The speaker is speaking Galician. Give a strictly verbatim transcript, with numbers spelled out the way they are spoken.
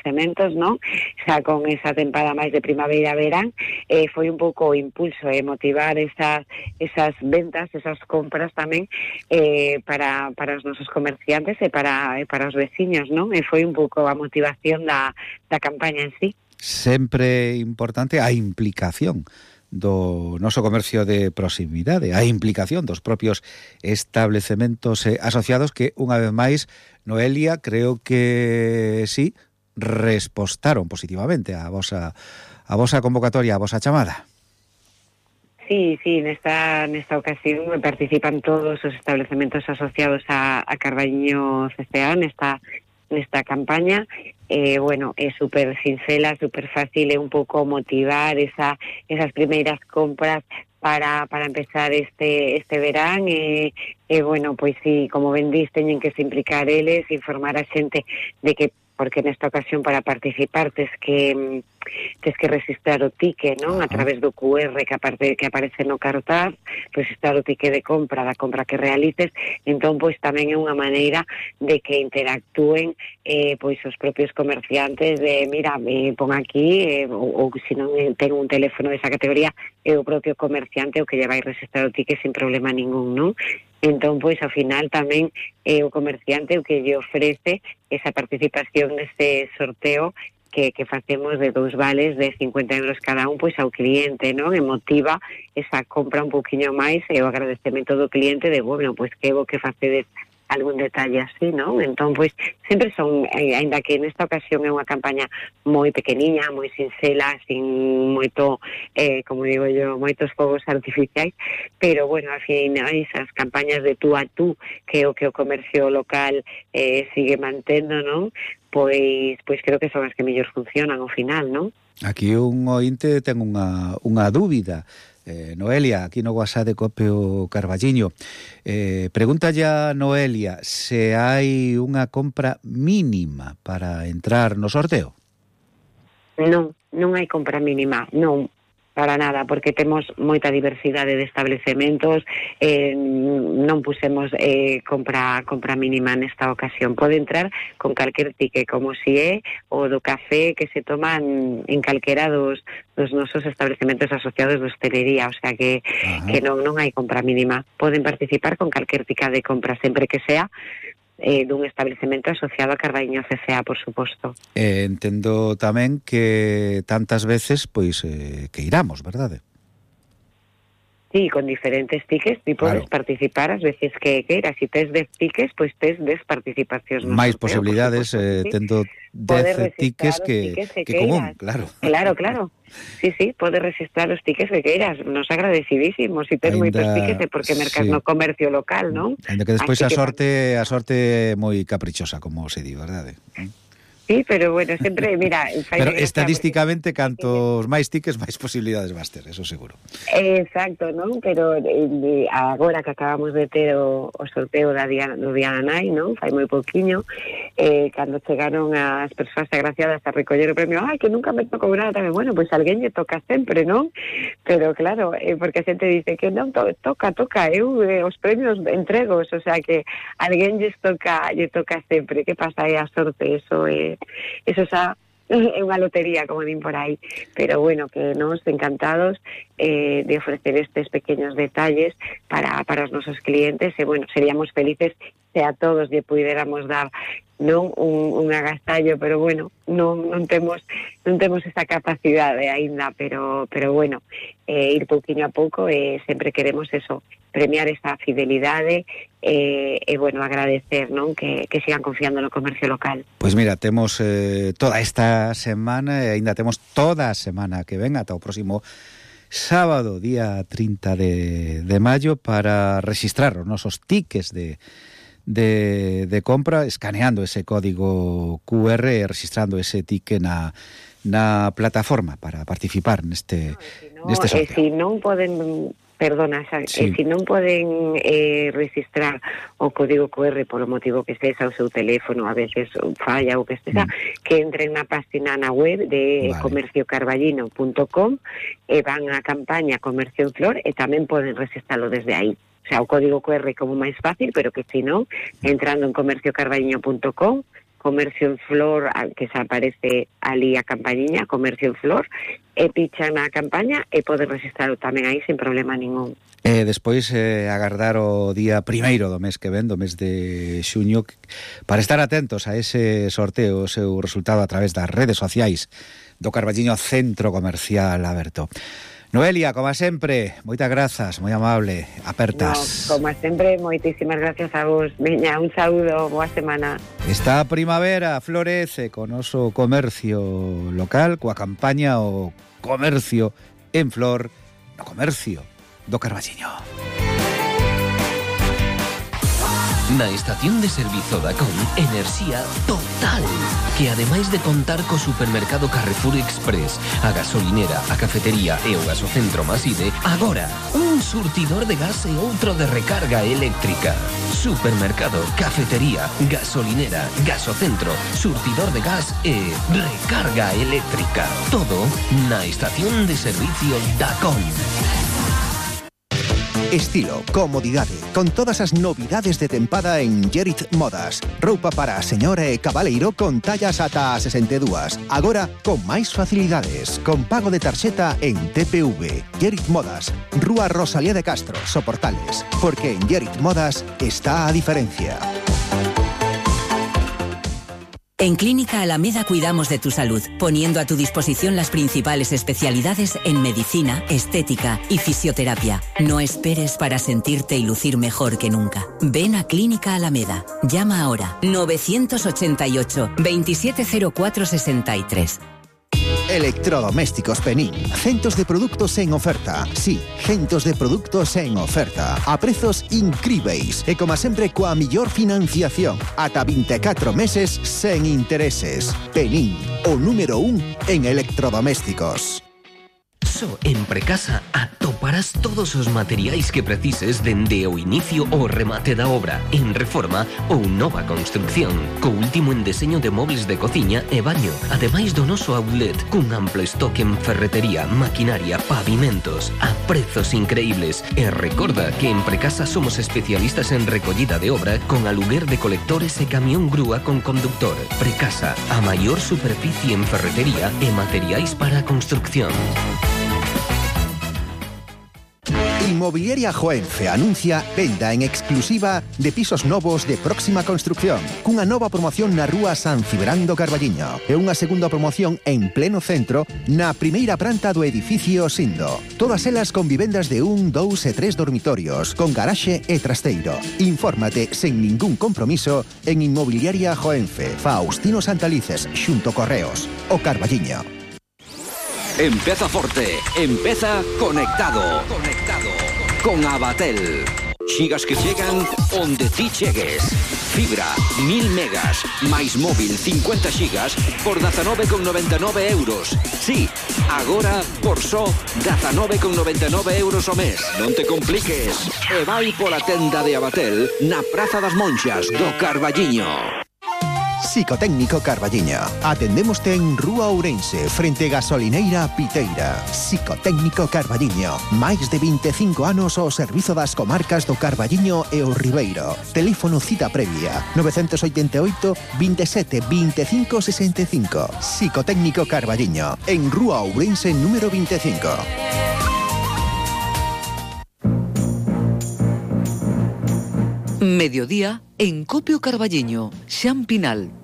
establecementos, non? Xa con esa tempada máis de primavera-verán, eh, foi un pouco o impulso e eh, motivar esas, esas ventas, esas compras tamén eh, para, para os nosos comerciantes e para, e para os veciños, non? E foi un pouco a motivación da, da campaña en sí. Sempre importante a implicación do noso comercio de proximidade, a implicación dos propios establecementos eh, asociados que, unha vez máis, Noelia, creo que sí, respostaron positivamente a vosa, a vosa convocatoria, a vosa chamada. Sí, sí, nesta, nesta ocasión participan todos os establecementos asociados a, a Carballiño C C A nesta, nesta campaña. Eh, bueno, é super sincera, super fácil, é un pouco motivar esa, esas primeiras compras para, para empezar este, este verán e, e bueno, pois sí, como ben dis, teñen que se implicar eles, informar a xente de que, porque nesta ocasión para participar tes que tes que registrar o ticket, non? A través do cu erre que, aparte, que aparece no cartaz, registrar o ticket de compra, da compra que realices. Entón, pois tamén é unha maneira de que interactúen eh, pois os propios comerciantes de, mira, me pon aquí, eh, ou, ou se non ten un teléfono desa categoría, é o propio comerciante o que lle vai registrar o ticket sin problema ningún, non? Entón, pois, ao final tamén é eh, o comerciante o que lle ofrece esa participación neste sorteo que, que facemos de dous vales de cincuenta euros cada un, pois ao cliente, non? E motiva esa compra un pouquiño máis e o agradecemento do cliente de, bueno, pois que bo que facedes algún detalle así, non? Entón, pois, sempre son, eh, ainda que nesta ocasión é unha campaña moi pequeniña, moi sinxela, sin moito, eh, como digo yo, moitos fogos artificiais, pero, bueno, al final, esas campañas de tú a tú, que o que o comercio local eh, sigue mantendo, non? Pois, pois creo que son as que mellor funcionan ao final, non? Aquí un ointe ten unha, unha dúbida. Eh, Noelia, aquí no WhatsApp de Copeo Carballiño, eh, pregunta ya Noelia se hai unha compra mínima para entrar no sorteo. Non, non hai compra mínima, non, para nada, porque temos moita diversidade de establecementos, eh, non pusemos eh, compra compra mínima nesta ocasión. Pode entrar con calquer ticket, como si é o do café que se toman en calquera dos, dos nosos establecementos asociados de hostelería, o sea que, que non, non hai compra mínima. Poden participar con calquer ticket de compra, sempre que sea eh, dun establecemento asociado a Carballiño C C A, por suposto. Eh, entendo tamén que tantas veces, pois, eh, que iramos, verdade? Sí, con diferentes tickets, ti podes claro. participar as veces que queiras. Si tes dez tickets, pois tes dez participacións. Máis posibilidades, eh, sí. Tendo dez tickets que, que, que común, claro. Claro, claro. Sí, sí, podes registrar os tickets que queiras. Nos agradecidísimos. Si tes moitos tickets é porque mercas sí. no comercio local, non? Ainda que despois a sorte, a sorte moi caprichosa, como se di, verdade? Sí, pero bueno, sempre, mira... Pero estadísticamente, porque... cantos máis tickets, máis posibilidades vas ter, eso seguro. Exacto, non? Pero eh, agora que acabamos de ter o, o sorteo da Diana, do Diana Nai, non? Fai moi pouquiño, eh, cando chegaron as persoas agraciadas a recoller o premio, ai, que nunca me tocou nada tamén, bueno, pois pues alguén lle toca sempre, non? Pero claro, eh, porque a xente dice que non, to, toca, toca, eu eh, os premios entregos, o sea que alguén lle toca, lle toca sempre, que pasa aí a sorte, eso é... Eh, eso xa é unha lotería, como din por aí, pero bueno, que nos encantados eh, de ofrecer estes pequeños detalles para, para os nosos clientes e bueno, seríamos felices se a todos lle puidéramos dar non un, un agastallo, pero bueno, non, non temos non temos esa capacidade aínda, pero pero bueno, eh, ir pouquiño a pouco e eh, sempre queremos eso, premiar esa fidelidade e, eh, eh, bueno, agradecer, non, que, que sigan confiando no comercio local. Pois mira, temos eh, toda esta semana e aínda temos toda a semana que ven ata o próximo sábado, día trinta de, de maio, para registrar os nosos tickets de De, de compra, escaneando ese código cu erre e registrando ese ticket na, na plataforma para participar neste, no, si no, neste sorteo. E se non poden, perdona, xa, sí. e se non poden eh, registrar o código cu erre polo motivo que sexa o seu teléfono, a veces falla ou que sexa, mm. que entren na página na web de vale. comercio carballino punto com e van á campaña Comercio en Flor e tamén poden registrarlo desde aí. O sea, o código cu erre como máis fácil, pero que se non, entrando en comercio carballino punto com, comercio en flor, que se aparece ali a campañiña, comercio en flor, e pichan a campaña e podes registralo tamén aí sin problema ningún. E despois eh, agardar o día primeiro do mes que ven, do mes de xuño, para estar atentos a ese sorteo, o seu resultado a través das redes sociais do Carballiño Centro Comercial Aberto. Noelia, como sempre, moitas grazas, moi amable, apertas. No, como sempre, moitísimas gracias a vos. Veña, un saúdo, boa semana. Esta primavera florece con noso comercio local, coa campaña o comercio en flor, no comercio do Carballiño. Na estación de servizo Dacón, enerxía total, que ademais de contar co supermercado Carrefour Express, a gasolinera, a cafetería e o gasocentro Maside, agora un surtidor de gas e outro de recarga eléctrica. Supermercado, cafetería, gasolinera, gasocentro, surtidor de gas e recarga eléctrica. Todo na estación de servicio Dacón. Estilo, comodidade, con todas as novidades de tempada en Gerit Modas. Roupa para a señora e cabaleiro con tallas ata a sesenta e dúas. Agora, con máis facilidades, con pago de tarxeta en T P V. Gerit Modas, Rúa Rosalía de Castro, Soportales. Porque en Gerit Modas está a diferencia. En Clínica Alameda cuidamos de tu salud, poniendo a tu disposición las principales especialidades en medicina, estética y fisioterapia. No esperes para sentirte y lucir mejor que nunca. Ven a Clínica Alameda. Llama ahora novecientos ochenta y ocho, veintisiete cero cuatro sesenta y tres. Electrodomésticos Penín. Centos de produtos en oferta. Sí, centos de produtos en oferta. A prezos incríveis. E como sempre, coa millor financiación. Ata vinte e catro meses sen intereses. Penín, o número un en electrodomésticos. Só en Precasa atoparás todos os materiais que precises dende o inicio ao remate da obra, en reforma ou nova construcción, co último en deseño de mobles de cociña e baño, ademais do noso outlet, cun amplo estoque en ferretería, maquinaria, pavimentos, a prezos increíbles. E recorda que en Precasa somos especialistas en recollida de obra con aluguer de colectores e camión grúa con conductor. Precasa, a maior superficie en ferretería e materiais para a construcción. Inmobiliaria Joenfe anuncia venda en exclusiva de pisos novos de próxima construcción, cunha nova promoción na rúa San Cibrán do Carballiño e unha segunda promoción en pleno centro na primeira planta do edificio Sindo. Todas elas con vivendas de un, dous e tres dormitorios, con garaxe e trasteiro. Infórmate sen ningún compromiso en Inmobiliaria Joenfe, Faustino Santalices, xunto Correos, o Carballiño. Empeza forte, empeza conectado. Conectado con Abatel. Xigas que chegan onde ti chegues. Fibra, mil megas, máis móvil, cincuenta xigas, por dezanove con noventa e nove euros. Sí, agora por só dezanove con noventa e nove euros o mes. Non te compliques. E vai pola tenda de Abatel na Praza das Monxas do Carballiño. Psicotécnico Carballiño. Atendémoste en Rúa Ourense, frente Gasolineira Piteira. Psicotécnico Carballiño. Máis de vinte e cinco anos ao servizo das comarcas do Carballiño e o Ribeiro. Teléfono cita previa novecentos oitenta e oito, veintisiete, veinticinco, sesenta e cinco. Psicotécnico Carballiño. En Rúa Ourense número veinticinco. Mediodía en Copio Carballiño, Xan Pinal.